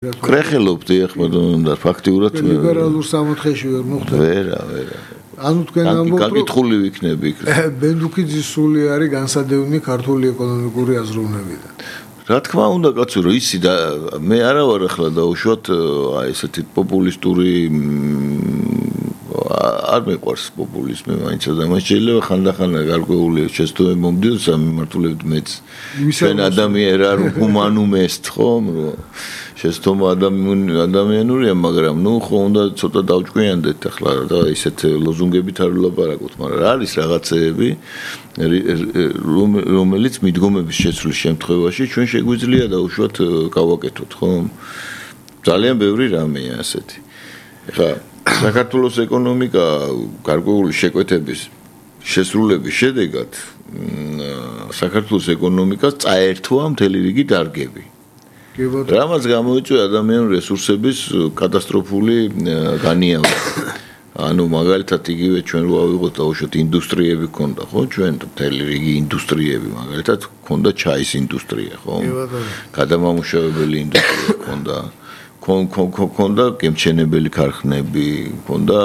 კრეხელობდი ახლა და ფაქტიურად ლიბერალურ სამოთხეში ვერ მოხდა. ვერა. ანუ თქვენ ამბობთ გაკითხული ვიქნები იქ. ბენდუქიძის სული არის განსადევნი ქართული ეკონომიკური აზროვნებიდან. რა თქმა უნდა კაცო რომ ისი და მე არა ვარ ახლა დაუშვათ აი ესეთი პოპულისტური არ მეყვარს პოპულიზმი მაინც და მას შეიძლება ხანდახან გარკვეული შეცდომები მომდიოს ამიმართულებით მეც ჩვენ ადამიანი რა ჰუმანუმ est ხომ რომ შეცდომა ადამიანურია მაგრამ ნუ ხო უნდა ცოტა დავჭკვიანდეთ ახლა და ისეთ ლოზუნგებით არ ვლაპარაკოთ მაგრამ რა არის რაღაცეები რომელიც მიდგომების შეცვლის შემთხვევაში ჩვენ შეგვიძლია დაუშვათ გავაკეთოთ ხომ ძალიან ბევრი რამეა ასეთი ეხლა საქართველოს ეკონომიკა გარკვეული შეკვეთების შესრულების შედეგად საქართველოს ეკონომიკას წაერთვა მთელი რიგი დარგები. რამაც გამოიწვია ადამიანური რესურსების კატასტროფული განიავება. ანუ მაგალითად იგივე ჩვენ რო ავიღოთ დაუშვათ ინდუსტრიები ქონდა ხო ჩვენ მთელი რიგი ინდუსტრიები მაგალითად ქონდა ჩაის ინდუსტრია ხო გადამამუშავებელი ინდუსტრია ქონდა ქონდა გემჩენებელი ქარხნები, ქონდა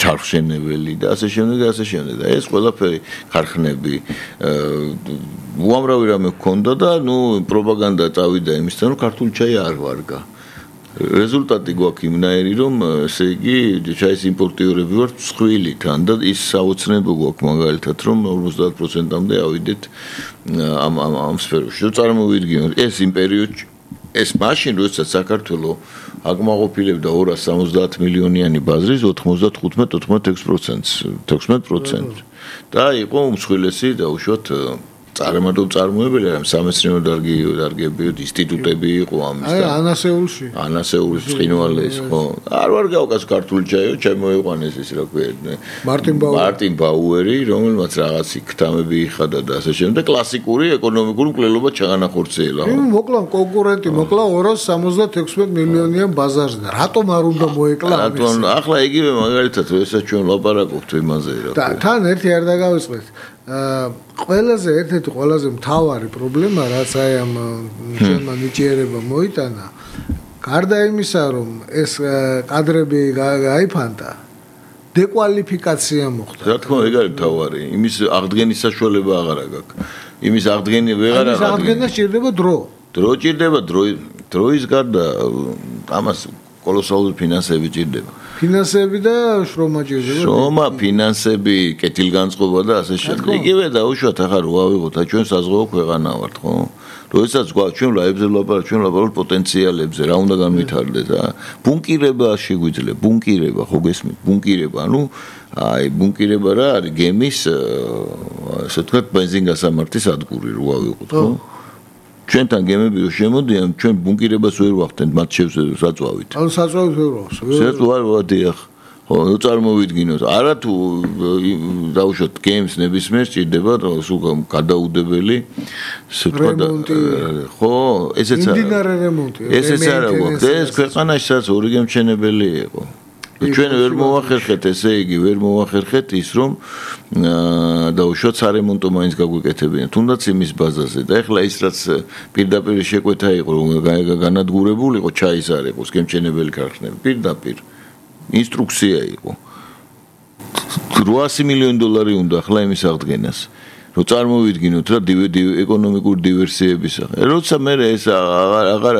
ჩარხშენებელი და ასე შემდეგ და ეს ყველაფერი ქარხნები უამრავი რამე ქონდა და ნუ პროპაგანდა წავიდა იმისთან რომ ქართული ჩაი არ ვარგა. რეზულტატი გვაქვს იმნაირი რომ ესე იგი ჩაის იმპორტიორები ვართ მსხვილი თან და ის საოცნებო გვაქვს მაგალითად რომ 50%-მდე ავიდეთ ამ სფეროში. რომ წარმოვიდგინოთ ეს იმ პერიოდში ეს მაშინ როდესაც საქართველოს აკმაყოფილებდა 270 მილიონიანი ბაზრის 95-96% და იყო უმსხვილესი დაუშვათ წარმოებელი ამ სამეცნიერო დარგები ინსტიტუტები იყო ამის და ანასეულის ცხინვალეს ხო არ ვარ გავკას ქართული ჩაიო შემოიყვანეს ის რა ქვია მარტინ ბაუერი რომელმაც რაღაცი ქთამები იხადა და ასე შემდეგ კლასიკური ეკონომიკური მკვლელობა ჩაანახორციელა ხო მოკლა კონკურენტი მოკლა 276 მილიონიან ბაზარზე და რატომ არ უნდა მოეკლა ამის ახლა იგივე მაგალითად ესაც ჩვენ ლაპარაკობთ იმაზე რა და თან ერთი არ დაგავიწყდეთ ყველაზე ერთ-ერთი ყველაზე მთავარი პრობლემა რაც აი ამ ჩვენმა ნიჭიერება მოიტანა გარდა იმისა რომ ეს კადრები გაიფანტა დეკვალიფიკაცია მოხდა რა თქმა უნდა ეგ არის მთავარი იმის აღდგენის საშუალება აღარ აქვს იმის აღდგენი ვეღარ აღდგენა აღდგენა სჭირდება დრო ჭირდება დროის გარდა ამას კოლოსალური ფინანსები ჭირდება ფინანსები და შრომა ჭირდება შრომა ფინანსები კეთილგანწყობა და ასე შემდეგ იგივე დაუშვათ ახლა რო ავიღოთ ჩვენ საზღვაო ქვეყანა ვართ ხო როდესაც გვაქვს ჩვენ ლაებზე ვლაპარაკობთ პოტენციალებზე რა უნდა განვითარდეს ბუნკირება შეგვიძლია ბუნკირება ხო გესმით ბუნკირება ანუ აი ბუნკირება რა არის გემის ასე ვთქვათ ბენზინგასამართის ადგური რო ავიღოთ ხო ჩვენთან გემები რო შემოდიან ჩვენ ბუნკირებას ვერ ვახდენთ მათ საწვავით ანუ საწვავით ვერ ვახსოვს ვერ ვადიახ ხო წარმოვიდგინოთ არა თუ დაუშვათ გემს ნებისმიერ სჭირდება სულ გადაუდებელი რემონტი ხო ესეც იმდინარე რემონტი ესეც არა გვაქვს ეს ქვეყანაში სადაც ორი გემჩენებელი იყო ჩვენ ვერ მოვახერხეთ ესე იგი ვერ მოვახერხეთ ის რომ დაუშვათ სარემონტო მაინც გაგვიკეთებინა თუნდაც იმის ბაზაზე და ეხლა ის რაც პირდაპირ შეკვეთა იყო რომ განადგურებული იყო ჩაის არ იყოს გემჩენებელი ქარხნები პირდაპირ ინსტრუქცია იყო $800 მილიონი უნდა ახლა იმის აღდგენას რომ წარმოვიდგინოთ რა ეკონომიკური დივერსიების როცა მე ეს აღარ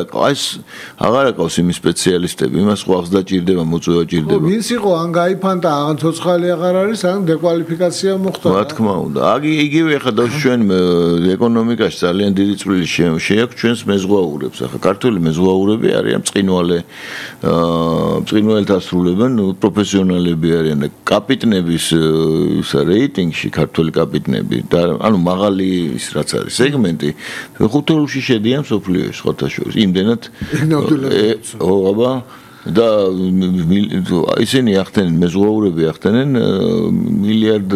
აკავს იმის სპეციალისტები იმას ხვალს დაჭირდება მოწვევა ჭირდება ვინც იყო ან გაიფანტა ან ცოცხალი აღარ არის ან დეკვალიფიკაცია მოხდა რა თქმა უნდა იგივე ახლა ჩვენ ეკონომიკაში ძალიან დიდი წვლილი შეაქვს ჩვენს მეზღვაურებს ახლა ქართული მეზღვაურები არიან მწყინვალით ასრულებენ პროფესიონალები არიან და კაპიტნების რეიტინგში ქართული კაპიტნები და ანუ მაღალი ის რაც არის სეგმენტი ხუთეულში შედიან სოფლიოში სხვათა შორის იმდენად აბა და ისინი ახდენენ მეზღვაურები ახდენენ $1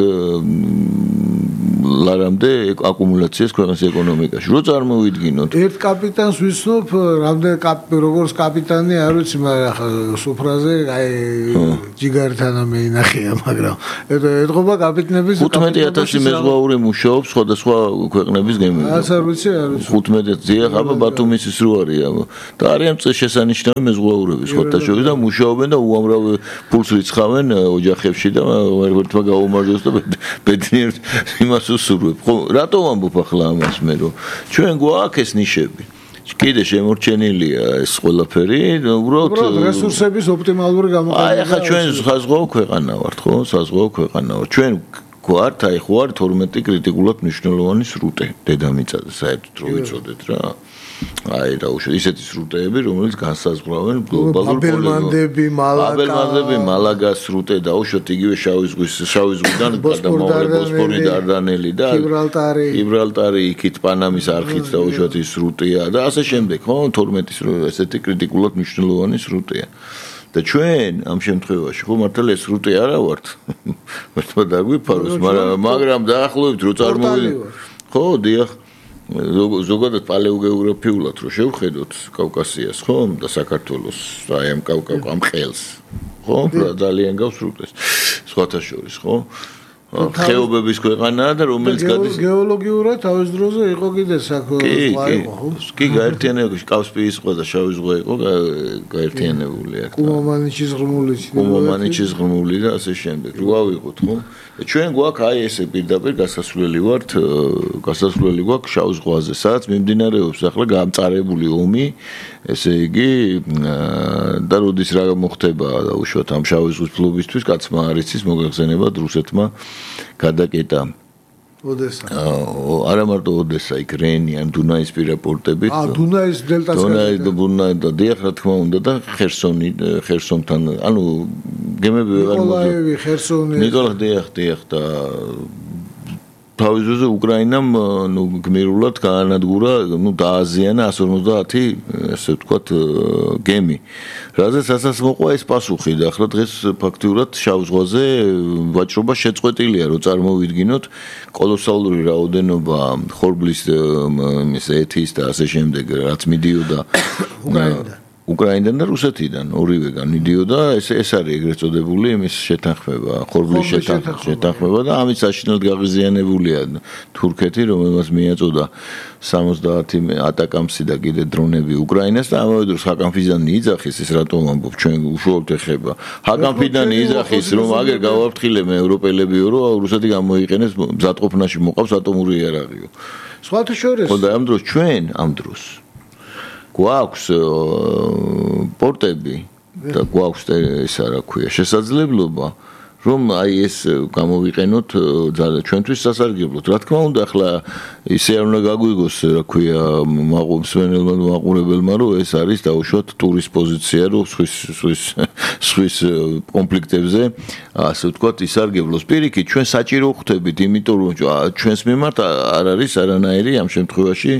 ლარამდე აკუმულაციას ქვეყნის ეკონომიკაში. რო წარმოვიდგინოთ. ერთ კაპიტანს ვიცნობ, რამდენი როგორც კაპიტანი არ ვიცი, მაგრამ ახლა სუფრაზე აი ჯიგართან მეინახია, მაგრამ ეთყობა კაპიტნების 15000 მეზღვაური მუშაობს სხვადასხვა ქვეყნების გემებზე. არ ვიცი, არ ვიცი. 15-ზე ხაბა ბათუმის ის რო არია და არიან შესანიშნავი მეზღვაურები სხვათა შორის და მუშაობენ და უამრავ ფულს რიცხავენ ოჯახებში და ერთმა გაუმარჯოს და ბედნიერ იმას უსურვებ. ხო, რატო ვამბობ ახლა ამას მე რომ ჩვენ გვაქვს ეს ნიშები. კიდე შემორჩენილია ეს ყველაფერი, უბრალოდ რესურსების ოპტიმალური გამოყენება. აი ახლა ჩვენ საზღვაო ქვეყანა ვართ, ხო? საზღვაო ქვეყანა ვართ. ჩვენ გვართ აი ხო არ 12 კრიტიკულად მნიშვნელოვანი სრუტე დედამიწაზე საერთოდ რო ვიცოდეთ რა. აი რა უშო ისეთი სრუტეები რომელიც განსაზღვრავენ გლობალურ ბაბელმანდები, მალაგას სრუტე და უშოთ იგივე შავი ზღვიდან გადამავალი ბოსფორი დარდანელი და გიბრალტარი იქით პანამის არხით და უშოთ ის სრუტეა და ასე შემდეგ ხო 12 ესეთი კრიტიკულად მნიშვნელოვანი სრუტეა და ჩვენ ამ შემთხვევაში ხო მართლა ეს სრუტე არა ვართ მართლა დაგვიფაროს მაგრამ დაახლოებით რო წარმოვიდგინოთ ხო დიახ ზოგადად პალეოგეოგრაფიულად რო შევხედოთ კავკასიას ხო და საქართველოს აი ამ ყელს ხო ძალიან გავს სრუტეს სხვათა შორის ხო ხეობების ქვეყანაა და რომელიც გადის გეოლოგიურად თავის დროზე იყო კიდე კი გაერთიანებული კასპიის ზღვა და შავი ზღვა იყო გაერთიანებული აქ კუმამანიჩის ღრმული და ასე შემდეგ რო ავიღოთ ხო ჩვენ გვაქვს აი ესე პირდაპირ გასასვლელი გვაქვს შავ ზღვაზე სადაც მიმდინარეობს ახლა გამწარებული ომი ესე იგი და როდის რა მოხდება და უშუალოდ ამ შავი ზღვის ფლობისთვის კაცმა არ იცის მოგეხსენება რუსეთმა გადაკეტა ოდესა არა მარტო ოდესა იქ რენი ან დუნაის პირა პორტებით დუნაის დელტას და დიახ რა თქმა უნდა და ხერსონთან ანუ გემები ვეღარ ნიკოლაევი ხერსონი დიახ და თავის დროზე უკრაინამ გმირულად გაანადგურა დააზიანა 150 ესე ვთქვათ გემი რაზეც ასაც მოყვა ეს პასუხი და ახლა დღეს ფაქტიურად შავ ზღვაზე ვაჭრობა შეწყვეტილია რომ წარმოვიდგინოთ კოლოსალური რაოდენობა ხორბლის ეთის და ასე შემდეგ რაც მიდიოდა უკრაინიდან და რუსეთიდან ორივეგან მიდიოდა ეს არის ეგრეთ წოდებული იმის შეთანხმება ხორბლის შეთანხმება და ამის საშინელად გაღიზიანებულია თურქეთი რომელმაც მიაწოდა 70 ატაკამსი და კიდე დრონები უკრაინას და ამავე დროს ჰაკან ფიდანი იძახის ეს რატომ ამბობ ჩვენ უშუალოდ ეხება ჰაკან ფიდანი იძახის რომ აგერ გავაფრთხილებ ევროპელებიო რომ რუსეთი გამოიყენებს მზადყოფნაში მოყავს ატომური იარაღიო სხვათა შორის ხო და ამ დროს ჩვენ ამ დროს გვაქვს პორტები და გვაქვს ესა რა ქვია შესაძლებლობა რომ აი ეს გამოვიყენოთ ჩვენთვის სასარგებლოდ რა თქმა უნდა ახლა ისე არ უნდა გაგვიგოს რა ქვია მსმენელმა მაყურებელმა რომ ეს არის დაუშვათ ტურის პოზიცია რომ სვის კონფლიქტებზე ასე ვთქვათ ისარგებლოს პირიქით ჩვენ საჭირო ხვდებით იმიტომ რომ ჩვენს მიმართ არ არის არანაირი ამ შემთხვევაში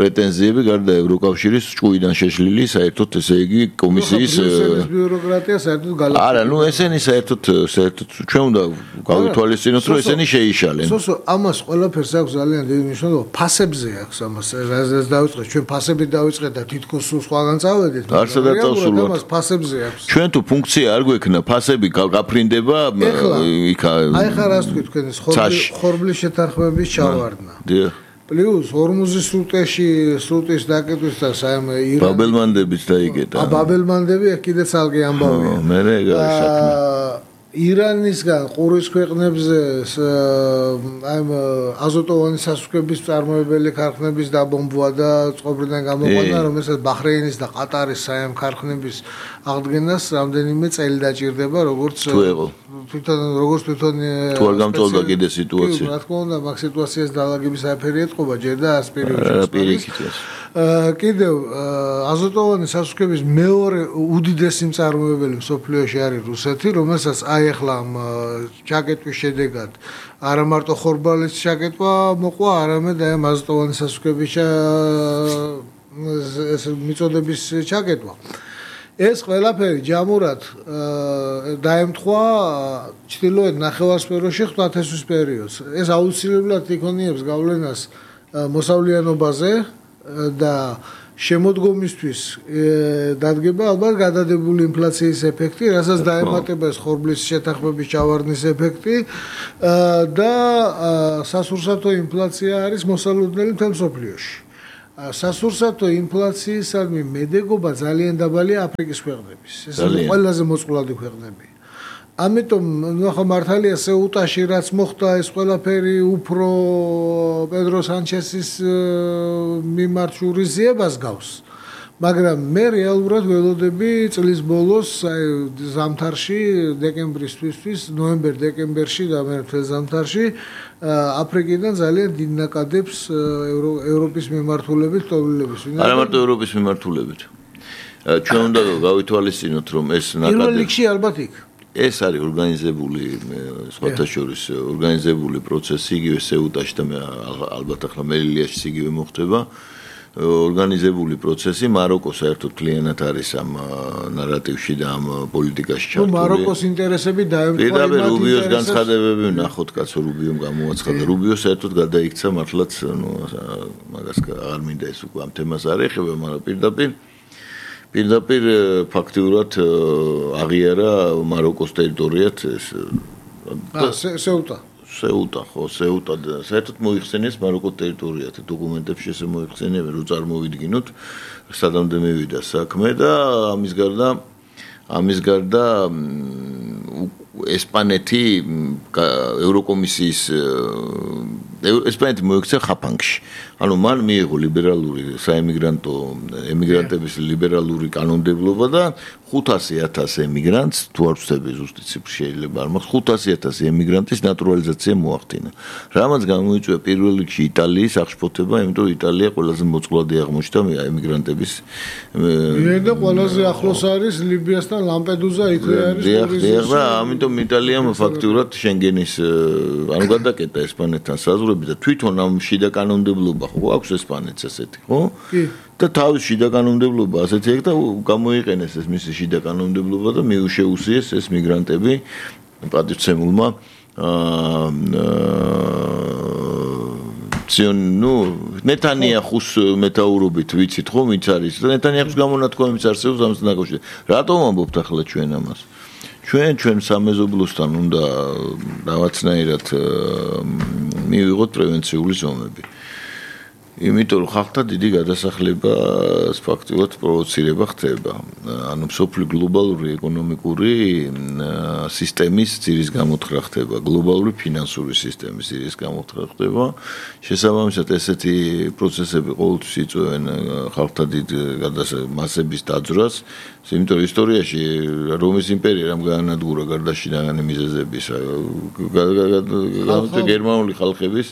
პრეტენზიები გარდა ევროკავშირის ჭუიდან შეშლილი საერთოდ ესე იგი კომისიის ბიუროკრატია საერთოდ გალაპარაკობს არა ნუ ესენი საერთოდ ჩვენ უნდა გავითვალისწინოთ რომ ესენი შეიშალენ სოსო ამას ყველაფერს აქვს ძალიან დიდი მნიშვნელობა ფასებზე აქვს ამას რაზეც დავიწყეთ ჩვენ ფასებით დავიწყეთ და თითქოს სულ სხვაგან წავედით არცადაც წავსულვართ ამას ფასებზე აქვს ჩვენ თუ ფუნქცია არ გვექნა ფასები გაფრინდება იქ აი ხარ ასე თქვი თქვენ ხორბლის შეთანხმების ჩავარდნა დიახ პლუს ორმუზის სრუტის დაკეტვისას აი ბაბელმანდებით დაიგეთა ბაბელმანდები კიდე ცალკე ამბავია მე რა საქმე ირანისგან ყურის ქვეყნებზე აი აზოტოვანი სასუქების წარმოებელი ქარხნების დაბომბვა და წყობრიდან გამოყვანა რომელსაც ბაჰრეინის და ყატარის საამ ქარხნების აღდგენას რამდენიმე წელი დაჭირდება როგორც თვითონ თუ არ გამწოლდა კიდე სიტუაცია რა თქმა უნდა მაგ სიტუაციას დაალაგების საფერი ეთყობა ჯერ და ას პერიოდში კიდევ აზოტოვანი სასუქების მეორე უდიდესი მწარმოებელი მსოფლიოში არის რუსეთი რომელსაც აი ახლა ჩაკეტვის შედეგად არა მარტო ხორბალის ჩაკეტვა მოყვა არამედ აი აზოტოვანი სასუქების ეს მიწოდების ჩაკეტვა ეს ყველაფერი ჯამურად დაემთხვა ჩრდილოეთ ნახევარსფეროში ღვთისმშობლის პერიოდს. ეს აუცილებლად იქონიებს გავლენას მოსავლიანობაზე და შემოდგომისთვის დადგება ალბათ გადადებული ინფლაციის ეფექტი, რასაც დაემატება ეს ხორბლის შეთანხმების ჩავარდნის ეფექტი და სასურსათო ინფლაცია არის მოსალოდნელი მთელ მსოფლიოში. სასურსათო ინფლაციისადმი მედეგობა ძალიან დაბალია აფრიკის ქვეყნების. ეს ყველაზე მოწყვლადი ქვეყნები. ამიტომ ნახა მართალია სეუტაში რაც მოხდა ეს ყველაფერი უფრო პედრო სანჩესის მიმართ შურისძიებას გავს. მაგრამ მე რეალურად ველოდები წლის ბოლოს ზამთარში დეკემბრისთვის ნოემბერ-დეკემბერში და მე მთელ ზამთარში აფრიკიდან ძალიან დიდ ნაკადებს ევროპის მიმართულებით ტოვილების. არა მარტო ევროპის მიმართულებით. ჩვენ უნდა გავითვალისწინოთ რომ ეს ნაკადები პირველ რიგში ალბათ იქ ეს არის ორგანიზებული სხვათა შორის ორგანიზებული პროცესი იგივე სეუტაში და ალბათ ახლა მელილიაში იგივე მოხდება ორგანიზებული პროცესი მაროკო საერთოდ კლიენტად არის ამ ნარატივში და ამ პოლიტიკაში ჩართული. მაროკოს ინტერესები დაემთხვა პირდაპირ რუბიოს განცხადებები ვნახოთ კაცო რუბიომ გამოაცხადა. რუბიო საერთოდ გადაიქცა მართლაც მაგას აღარ მინდა ეს უკვე ამ თემას არ ეხება, მაგრამ პირდაპირ ფაქტიურად აღიარა მაროკოს ტერიტორიად ეს სეუტა ხო სეუტა საერთოდ მოიხსენიეს მაროკოს ტერიტორიად დოკუმენტებში ესე მოიხსენიებენ რომ წარმოვიდგინოთ სადამდე მივიდა საქმე და ამის გარდა ესპანეთი ევროკომისიის ესპანეთი მოიქცა ხაფანგში ანუ მან მიიღო ლიბერალური საემიგრანტო ემიგრანტების ლიბერალური კანონმდებლობა და 500,000 ემიგრანტს თუ არ ვცდები ზუსტი ციფრი შეიძლება არ მაქვს 500,000 ემიგრანტის ნატურალიზაცია მოახდინა რამაც გამოიწვია პირველ რიგში იტალიის აღშფოთება იმიტომ რომ იტალია ყველაზე მოწყვლადი აღმოჩნდა ემიგრანტების და ყველაზე ახლოს არის ლიბიასთან ლამპედუზა იქ არის ტურიზმი და ამიტომ იტალიამ ფაქტურად შენგენის ანუ გადაკეტა ესპანეთთან საზღვრები და თვითონ ამ შიდა კანონმდებლობა ხო აქვს ესპანეთს ესეთი ხო და თავის შიდა კანონმდებლობა ასეთი აქვს და გამოიყენეს ეს მისი შიდა კანონმდებლობა და მიუშეუსიეს ეს მიგრანტები პატივცემულმა ნეტანიაჰუს მეტაურობით ვიცით ხო ვინც არის და ნეტანიაჰუს გამონათქვამიც არსებობს ამას დაკავშირებით რატომ ამბობთ ახლა ჩვენ ამას ჩვენ სამეზობლოსთან უნდა დავაცნაირად მივიღოთ პრევენციული ზომები იმიტომ რომ ხალხთა დიდი გადასახლება ფაქტიურად პროვოცირება ხდება ანუ სოფლის გლობალური ეკონომიკური სისტემის ძირის გამოთხრა ხდება გლობალური ფინანსური სისტემის ძირის გამოთხრა ხდება შესაბამისად ესეთი პროცესები ყოველთვის იწვევენ ხალხთა დიდ მასების დაძვრას იმიტომ რომ ისტორიაში რომის იმპერია რამ გაანადგურა გარდაშინაღანი მიზეზების გერმანული ხალხების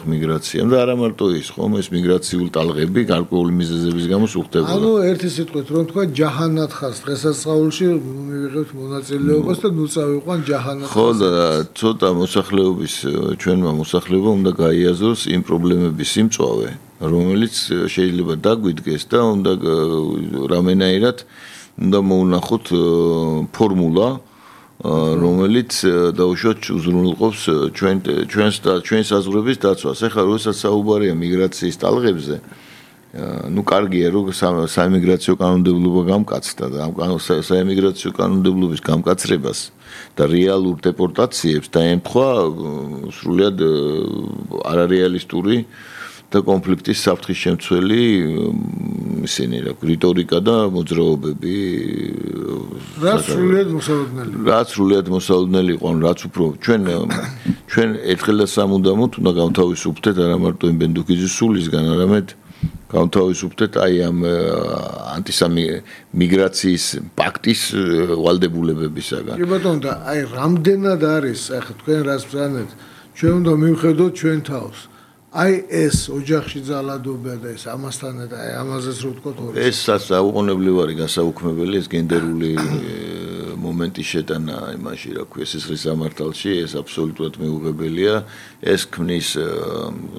მიგრაცია და არა მარტო ის ხომ ეს მიგრაციული ტალღები გარკვეული მიზეზების გამო სუხდება. ანუ ერთი სიტყვით რომ თქვა ჯაჰანათხას დღესასწაულში მივიღებთ მონაწილეობას და ნუ წავიყვან ჯაჰანათხას. ხო და ცოტა მოსახლეობის ჩვენმა მოსახლეობამ უნდა გაიაზროს იმ პრობლემების სიმწვავე რომელიც შეიძლება დაგვიდგეს და უნდა რამენაირად უნდა მოუნახოთ ფორმულა რომელიც დაუშვათ უზრუნველყოფს ჩვენს საზღვრების დაცვას. ეხლა როდესაც საუბარია მიგრაციის ტალღებზე, ну კარგია რომ საემიგრაციო კანონმდებლობა გამკაცდა და ამ საემიგრაციო კანონმდებლობის გამკაცრებას და რეალურ დეპორტაციებს დაემთხვა სრულიად არარეალისტური და კონფლიქტის საფრთხის შემცველი ისინი რა რიტორიკა და მოძრაობები რაც სრულიად მოსალოდნელი იყო ანუ რაც უფრო ჩვენ ერთხელ და სამუდამოდ უნდა გავთავისუფლდეთ არა მარტო იმ ბენდუქიძის სულისგან არამედ გავთავისუფლდეთ აი ამ ანტისამიგრაციის პაქტის ვალდებულებებისაგან კი ბატონო და აი რამდენად არის ახლა თქვენ რას ბრძანეთ ჩვენ უნდა მივხედოთ ჩვენ თავს აი ეს ოჯახში ძალადობა და ეს ამასთან და ამაზეც რო ვთქოთ ეს საუყოვნებლივ არის გასაუქმებელი ეს გენდერული მომენტის შეტანა იმაში, რა ქვია, სისხლის სამართალში, ეს აბსოლუტურად მიუღებელია. ეს ქმნის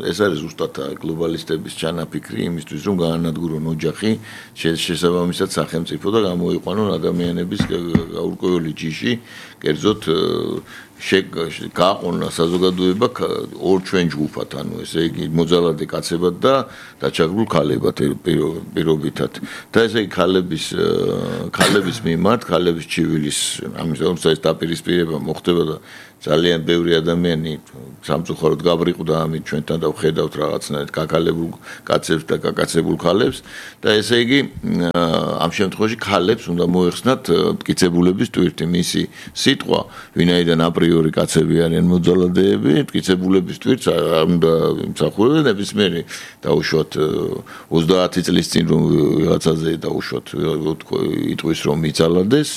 ეს არის ზუსტად გლობალისტების ჩანაფიქრი იმისთვის, რომ გაანადგურონ ოჯახი, შესაბამისად სახელმწიფო და გამოიყვანონ ადამიანების გაურკვეველი ჯიში, კერძოდ გააყონა საზოგადოება ორ ჩვენ ჯგუფად, ანუ ესე იგი მოძალადე კაცებად და დაჩაგრულ ქალებად პირობითად. და ესე იგი ქალების მიმართ, ქალების ჩივილის ამის ეს დაპირისპირება მოხდება და ძალიან ბევრი ადამიანი სამწუხაროდ გაბრიყდა ამით ჩვენთან და ვხედავთ რაღაცნაირად გაკალებულ კაცებს და გაკაცებულ ქალებს და ესე იგი ამ შემთხვევაში ქალებს უნდა მოეხსნათ მტკიცებულების ტვირთი მისი სიტყვა ვინაიდან აპრიორი კაცები არიან მოძალადეები მტკიცებულების ტვირთს უნდა იმსახურებენ ნებისმიერი დაუშვათ 30 წლის წინ რომ რაღაცაზე დაუშვათ იტყვის რომ იცალადეს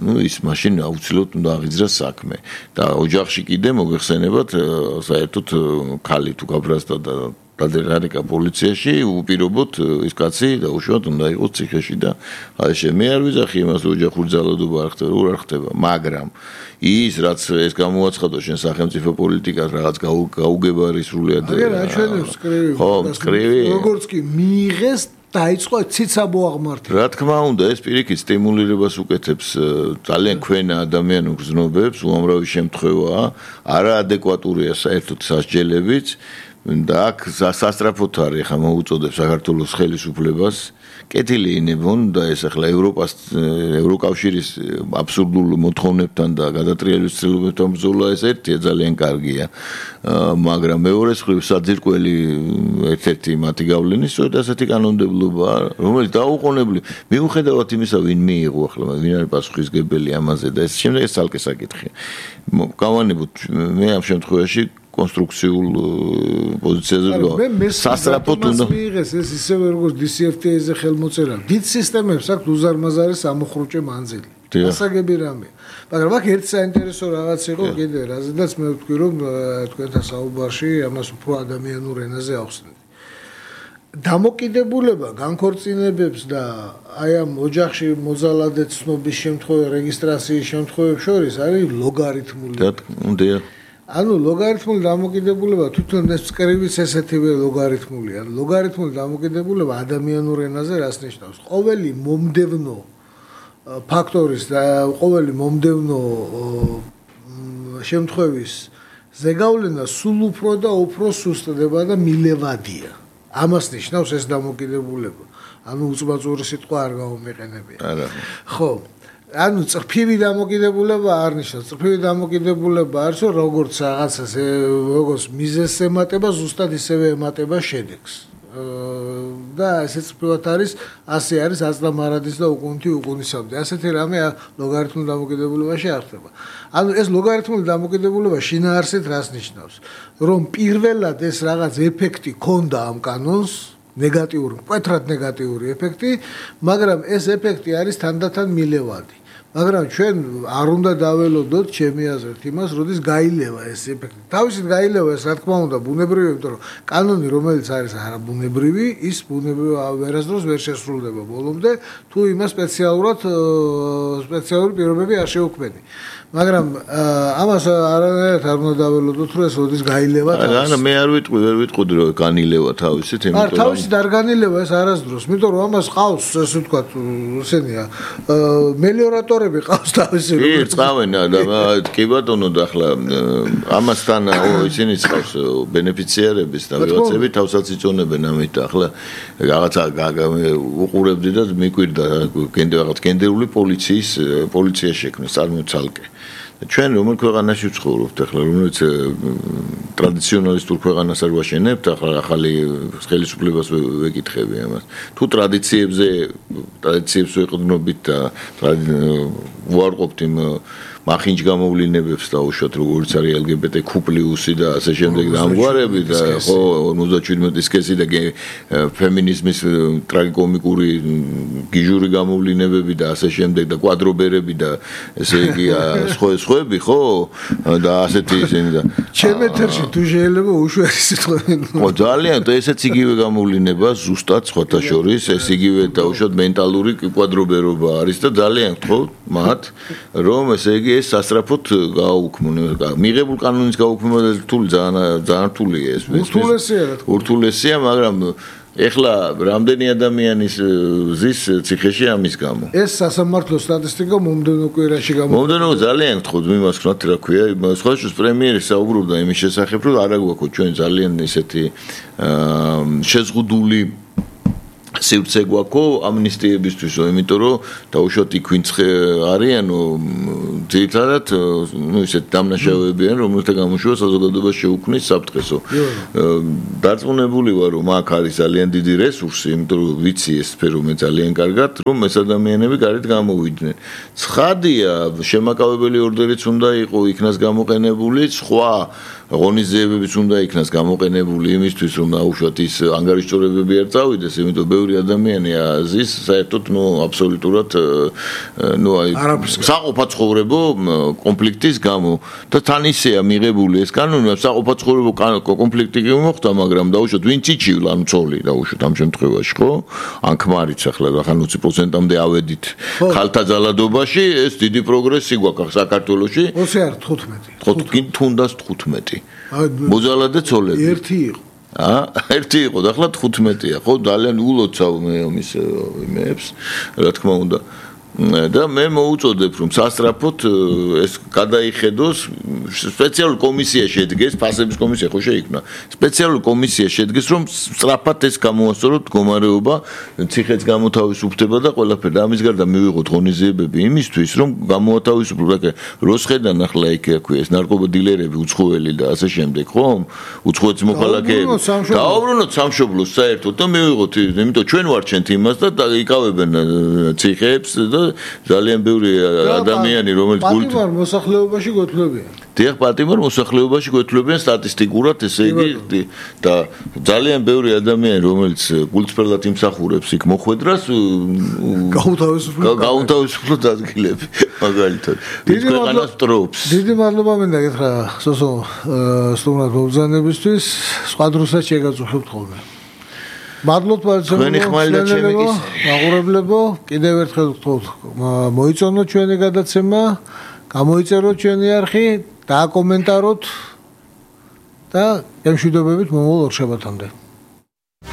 ну ის მაშინ აუცილებლად უნდა აღიძრას საქმე და ოჯახში კიდე მოგეხსენებათ საერთოდ ქალი თუ გაბრაზდა და დადერგა პოლიციაში უპირობოდ ის კაცი დაუშვათ უნდა იყოს ციხეში და აი მე არ ვიძახი იმას ოჯახური ძალადობა არ ხდება მაგრამ ის რაც ეს გამოაცხადო შენ სახელმწიფო პოლიტიკას რაღაც გაუგებარი სრულიად აჩვენებს კრივი ხო კრივი როგორც კი მიიღეს დაიწყო ციცაბო აღმართება. რა თქმა უნდა, ეს პირიქით სტიმულირებას უკეთებს ძალიან ქვენა ადამიანურ გზნობებს, უამრავი შემთხვევაა, არაადეკვატურია საერთოდ სასჯელებიც და აქ სასტრაფოდ არის ხა მოუწოდებს საქართველოს ხელისუფლებას კეთილი ინებონ და ეს ახლა ევროკავშირის აბსურდულ მოთხოვნებთან და გადატრიალების ცდილობებთან ბრძოლა ეს ერთია ძალიან კარგია მაგრამ მეორე მხრივ საძირკველი ერთ-ერთი მათი გავლენის სწორედ ასეთი კანონმდებლობაა რომელიც დაუყოვნებლივ მიუხედავად იმისა ვინ მიიღო ახლა ვინ არის პასუხისგებელი ამაზე და ეს შემდეგ ეს ცალკე საკითხია გავანებოთ მე ამ შემთხვევაში კონსტრუქციულ პოზიციაზე სასტრაფოდ უნდა მიიღეს ეს ისევე როგორც DCFTA-ზე ხელმოწერა დიდ სისტემებს აქვს უზარმაზარი სამოხრუჭე მანძილი ასაგები რამეა მაგრამ აქ ერთ საინტერესო რაღაც იყო კიდე რაზედაც მე ვთქვი რომ თქვენთან საუბარში ამას უფრო ადამიანურ ენაზე ახსნით დამოკიდებულება განქორწინებებს და აი ამ ოჯახში მოძალადე ცნობის შემთხვევაში რეგისტრაციის შემთხვევებს შორის არის ლოგარითმული ანუ ლოგარითმული დამოკიდებულება თვითონ ეს წკრივიც ესეთივე ლოგარითმულია. ლოგარითმული დამოკიდებულება ადამიანურ ენაზე რას ნიშნავს? ყოველი მომდევნო ფაქტორის და ყოველი მომდევნო შემთხვევის ზეგავლენა სულ უფრო და უფრო სუსტდება და მილევადია. ამას ნიშნავს ეს დამოკიდებულება. ანუ უწბაწური სიტყვა არ გამომიყენებია. არა. ხო. ანუ წრფივი დამოკიდებულება არ ნიშნავს. წრფივი დამოკიდებულება არის რომ როგორც რაღაცას როგორც მიზეზს ემატება, ზუსტად ისევე ემატება შედეგს. და ესეც წრფივად არის, ასე არის აწლამარადის და უკუნთი უკუნისამდე. ასეთი რამე ლოგარითმულ დამოკიდებულებაში არ ხდება. ანუ ეს ლოგარითმული დამოკიდებულება შინაარსით რას ნიშნავს? რომ პირველად ეს რაღაც ეფექტი ქონდა ამ კანონს ნეგატიური, მკვეთრად ნეგატიური ეფექტი, მაგრამ ეს ეფექტი არის თანდათან მილევადი. მაგრამ ჩვენ არ უნდა დაველოდოთ ჩემი აზრით იმას, როდის გაილევა ეს ეფექტი. თავისით გაილევა ეს რა თქმა უნდა ბუნებრივია, იმიტომ რომ კანონი რომელიც არის არაბუნებრივი, ის ბუნებრივი ვერასდროს ვერ შესრულდება ბოლომდე, თუ იმას სპეციალური პირობები არ შეუქმენი. მაგრამ ამას არანაირად არ უნდა დაველოდოთ, რომ ეს როდის გაილევა თავისით. არა, მე არ ვერ ვიტყოდი რომ განილევა თავისით, იმიტომ რომ თავისით არ განილევა ეს არასდროს, იმიტომ რომ ამას ყავს, ესე ვთქვათ, ესენია, მელიორატორები ყავს თავისი. კი, წავენ და კი ბატონო და ახლა ამასთან ისინი ყავს ბენეფიციარების და ვიღაცები თავსაც იწონებენ ამით და ახლა რაღაცა უყურებდი და მიკვირდა რაღაც გენდერული პოლიცია შექმნეს წარმოцалკე. ჩვენ რომელ ქვეყანაში ვცხოვრობთ ახლა რომელიც ტრადიციონალისტურ ქვეყანას არ ვაშენებთ ახლა ახალი ხელისუფლებას ვეკითხები ამას თუ ტრადიციებს ვეყრდნობით და ვუარყოფთ იმ მახინჯ გამოვლინებებს დაუშვათ როგორც არის LGBT Q+ და ასე შემდეგ და ამგვარები და ხო 57 სქესი და ფემინიზმის ტრაგიკომიკური გიჟური გამოვლინებები და ასე შემდეგ და კვადრობერები და ესე იგი სხვები ხო და ასეთი ისინი და ჩემ ეთერში თუ შეიძლება უშველი სიტყვები ხო ძალიან და ესეც იგივე გამოვლინება ზუსტად სხვათა შორის ეს იგივე დაუშვათ მენტალური კვადრობერობა არის და ძალიან გთხოვთ მათ რომ ესე იგი ეს სასწრაფოდ გააუქმონ მიღებულ კანონის გაუქმება ძალიან რთულია ეს ურთულესია მაგრამ ეხლა რამდენი ადამიანის ზის ციხეში ამის გამო ეს სასამართლო სტატისტიკა მომდევნო კვირაში მომდევნო ძალიან გთხოვთ მიმასხნოთ რა ქვია სხვაშორის პრემიერი საუბრობდა იმის შესახებ რომ არა გვაქვს ჩვენ ძალიან ისეთი შეზღუდული სივრცე გვაქვს ამნისტიებისთვისო იმიტომ რომ დაუშვათ იქ ვინც არიანო ძირითადად ისეთ დამნაშავეები არიან რომელთა გამოშვება საზოგადოებას შეუქმნის საფრთხესო დარწმუნებული ვარ რომ აქ არის ძალიან დიდი რესურსი იმიტომ რომ ვიცი ეს სფერო მე ძალიან კარგად რომ ეს ადამიანები გარეთ გამოვიდნენ ცხადია შემაკავებელი ორდერიც უნდა იყოს იქნას გამოყენებული სხვა ღონისძიებებიც უნდა იქნას გამოყენებული იმისთვის რომ დაუშვათ ის ანგარიშწორებები არ წავიდეს იმიტომ ბევრი ადამიანი ზის საერთოდ აბსოლუტურად აი საყოფაცხოვრებო კონფლიქტის გამო და თან ისეა მიღებული ეს კანონი საყოფაცხოვრებო კონფლიქტი მოხდა მაგრამ დაუშვათ ვინც იჩივ ანუ ცოლი დაუშვათ ამ შემთხვევაში ხო ან ქმარიც ახლა 20%-მდე ავედით ხალთა ძალადობაში ეს დიდი პროგრესი გვაქვს საქართველოში 20 არ 15 თუნდაც 15 მოძალადე ცოლები ერთი იყო ერთი იყო და ახლა 15-ია ხო ძალიან ულოცავ მე ამის იმებს რა თქმა უნდა და მე მოუწოდებ რომ სასწრაფოდ ეს გადაიხედოს სპეციალური კომისია შედგეს ფასების კომისია ხო შეიქმნა სპეციალური კომისია შედგეს რომ სწრაფად ეს გამოასწოროთ მდგომარეობა ციხეც გამოთავისუფლდება და ყველაფერი და ამის გარდა მივიღოთ ღონისძიებები იმისთვის რომ გამოათავისუფლოთ როსხედან ახლა იქ აქვე ეს ნარკოდილერები უცხოელი და ასე შემდეგ ხო უცხოეთის მოქალაქეები დააუბრუნოთ სამშობლოს საერთოდ და მივიღოთ იმიტომ ჩვენ ვარჩენთ იმას და იკავებენ ციხეებს და ძალიან ბევრი ადამიანი რომელიც პატიმარ მოსახლეობაში გოთლებიან დიახ პატიმარ მოსახლეობაში გოთლებიან სტატისტიკურად ესე იგი და ძალიან ბევრი ადამიანი რომელიც გულწრფელად იმსახურებს იქ მოხვედრას გაუთავისუფლოთ ადგილები მაგალითად ის ქვეყანას ტრობს დიდი მადლობა მინდა გითხრა სოსო სტუმრად მობრძანებისთვის სხვა დროსაც შეგაწუხებთ ხოლმე მადლობთ ბარცელონაში აღურებლებო კიდევ ერთხელ გთხოვთ მოიწონოთ ჩვენი გადაცემა გამოიწეროთ ჩვენი არხი დააკომენტაროთ და გემშვიდობებით მომავალ ორშაბათამდე